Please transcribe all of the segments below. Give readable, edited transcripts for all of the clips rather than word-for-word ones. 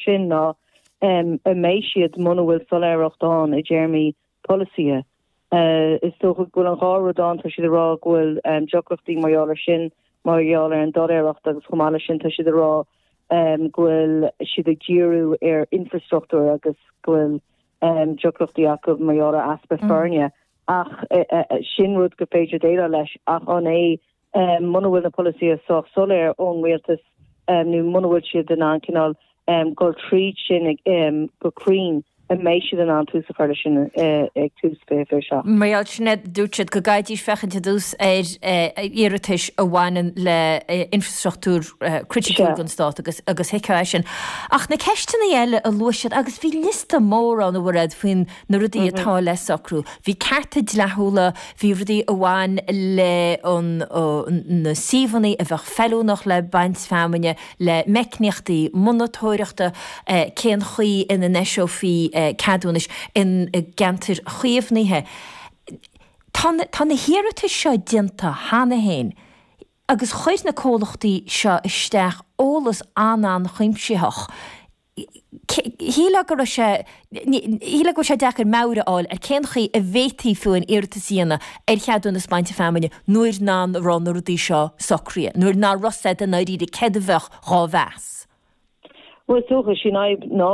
sin ná an mbeidh siad muna bhfuil soiléireacht ann i dtéarmaí polasaithe. Is dócha go bhfuil an dhá rud ann, tá siad ag rá go bhfuil deacrachtaí mar gheall air sin, mar gheall ar an doiléireacht agus chomh maith leis sin tá siad ag rá go bhfuil siad ag díriú ar infrastruchtúr agus go bhfuil deacrachtaí acu mar gheall ar easpa foirne ach sin rud gur féidir déileáil leis ach an é muna bhfuil na polasaithe sách soiléir ón rialtas nó muna bhfuil siad in ann cineál dul tríd sin go cruinn, an mbeidh siad in ann tús a chur leis sin ag tús 2027? Mar gheall sin, dúirt siad go gcaithfidís féachaint ar dtús ar iarratais a bhaineann le infrastruchtúr criticiúil don stát agus agus thuigfeá é sin. Ach na ceisteanna eile a luaigh siad, agus bhí liosta mór ann a Mhairéad faoin na rudaí atá le socrú. Bhí cearta dleathúla, bhí rudaí a bhain le na suíomhanna a bheadh feiliúnach le baint feamainne, le meicníochtaí monatóireachta, cén chaoi ina n-eiseofaí ceadúnais i gceantair chaomhnaithe. Tá tá na hiarratais seo déanta cheana féin agus chuir na comhlachtaí seo isteach eolas an-an-chuimsitheach. Shílfeá go raibh sé, shílfeá go bhfuil sé deacair meabhair a fháil ar cén chaoi a bhféadfaí fiú aon iarratas a dhéanamh ar cheadúnas bainte feamainne nuair nach raibh na rudaí seo socraithe, nuair nach raibh a fhios i ndáiríre céard a bheadh dhá mheas. Bhuel, is dócha, sí an fhadhb ná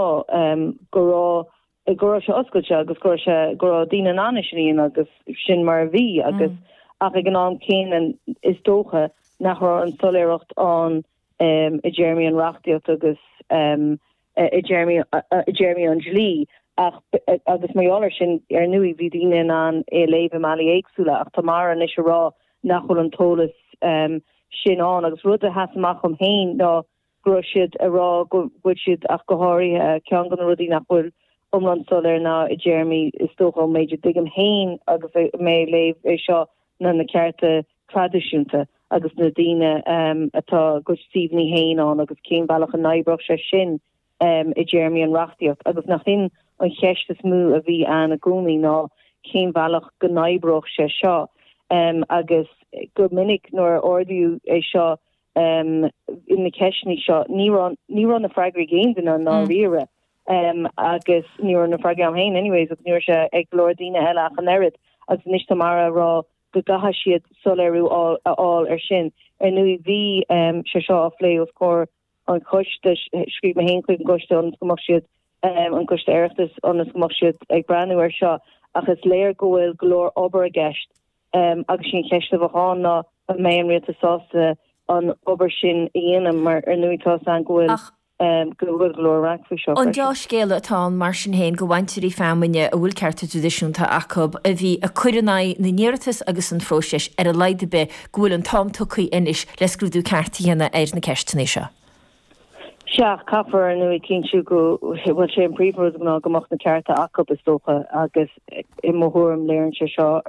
go raibh, go raibh sé oscailte agus go raibh sé, go raibh daoine in ann é sin a dhéanamh agus sin mar a bhí agus ach ag an am céanna is dócha nach raibh an soiléireacht ann i dtéarmaí an reachtaíocht agus i dtéarmaí i dtéarmaí an dlí ach agus mar gheall air sin ar ndóigh bhí daoine in ann é a léamh i mbealaí éagsúla ach tá Mara anois ag rá nach bhfuil an t-eolas sin ann agus rud a sheas amach dhom féin ná go raibh siad ag rá go bhfuil siad ach go háirithe ceann de na rudaí nach bhfuil iomlán soiléir ná i dtéarmaí is dócha ón méid a dtuigim féin agus mé ag léamh é seo ná na cearta traidisiúnta agus na daoine atá a gcuid suíomhanna féin ann agus cén bealach a n-oibreodh sé sin i dtéarmaí an reachtaíocht agus nach in an cheist is mó a bhí ann i gcónaí ná cén bhealach go n-oibreodh sé seo agus go minic nuair a ardaíodh é seo in na ceisteanna seo ní raibh ní raibh na freagraí ag aon duine i ndáiríre agus ní raibh na freagraí agam féin anyways agus ní raibh sé ag go leor daoine eile ach an oiread agus anois tá Mara ag rá go gcaithfidh siad soiléiriú a fháil air sin. Ar ndóigh, bhí sé seo á phlé os comhair an choiste, scríobh mé féin chuig an gcoiste ionas go mbeadh siad, an Coiste Oireachtais, ionas go mbeadh siad ag breathnú air seo ach is léir go bhfuil go leor obair i gceist agus sí an cheist a bheadh ann ná an mbeidh an rialtas sásta an obair sin a dhéanamh mar ar ndóigh tá a fhios againn go bhfuil go bhfuil go leor raic faoi seo An freisin. dea-scéala atá ann mar sin féin do bhainteoirí feamainne a bhfuil cearta traidisiúnta acu, a bhí ag cur in aghaidh na n-iarratas agus an phróisis, ar a laghad ar bith, go bhfuil an t-am tugtha anois le scrúdú ceart a dhéanamh ar na ceisteanna seo. Sea, caithfear ar ndóigh cinntiú go bhfuil sé an príomhrud ná go mbeadh na cearta acu is dócha agus i mo thuairim léiríonn sé seo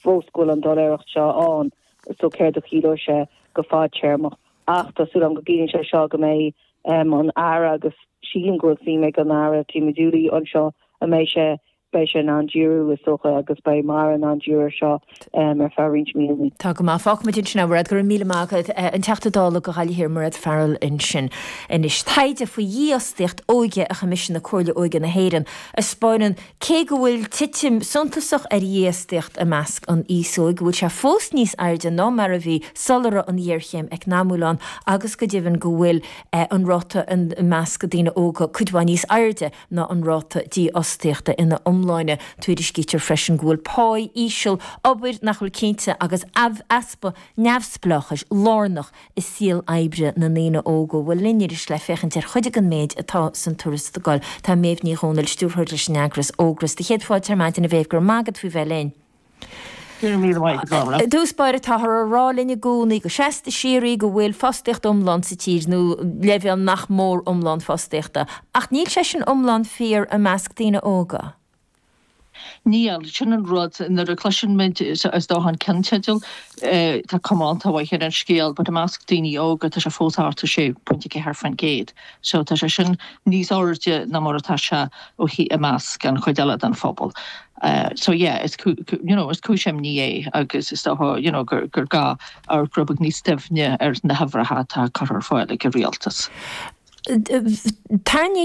fós go bhfuil an doiléireacht seo ann so céard a chiallóidh sé go fadtéarmach. Ach tá súil agam go gciallaíonn sé seo go mbeidh an Aire, agus sílim go bhfuil suim ag an Aire Tim Dooley anseo, a mbeidh sé, beidh sé in ann díriú, is dócha, agus beidh Mara in ann díriú ar seo ar feadh roinnt míonna. Tá go maith. Fágfaimid ansin é, a Mhairéad. Go raibh míle maith agat. An Teachta Dála do Ghaillimh Thiar, Mairéad Farrell ansin. Anois, taighde faoi dhífhostaíocht óige a choimisiúnaigh Comhairle Óige na hÉireann a 'spáineann Cé go bhfuil titim suntasach ar dhífhostaíocht i measc an aos óig, go bhfuil sé fós níos airde ná mar a bhí sula raibh an ghéarchéim eacnamúil ann agus go deimhin go bhfuil an ráta i measc daoine óga cuid mhaith níos airde ná an ráta dífhostaíochta ina iomláine. Tuairiscítear freisin go bhfuil páí íseal, obair nach bhfuil cinnte agus easpa neamhspleáchais lárnach i saol oibre na ndaoine óga. Bhuel linn arís le féachaint ar chuid den méid atá san tuarascáil tá Méabh Ní Dhomhnaill, stiúrthóir leis an eagras Ógras. Do chéad fáilte ar maidin a Mhéabh, go raibh maith agat faoi bheith linn. Go raibh míle maith agat, Orla. I dtús báire táthar á rá linn i gcónaí go seasta síoraí go bhfuil fostaíocht iomlán sa tír nó leibhéal nach mór iomlán fostaíochta ach níl sé sin iomlán fíor i measc daoine óga. Níl. Sin an rud, nuair a chloiseann muid, is dócha an ceannteideal, tá cuma iontach mhaith ar an scéal, but i measc daoine óga tá sé fós thart ar 6.4%. So tá sé sin níos airde ná mar atá sé ó i measc an chuid eile den phobal. So yeah, is you know, is cúis imní é agus is dócha you know gur gur gá amharc rud beag níos doimhne ar na huimhreacha atá curtha ar fáil ag an rialtas. Tarraingítear.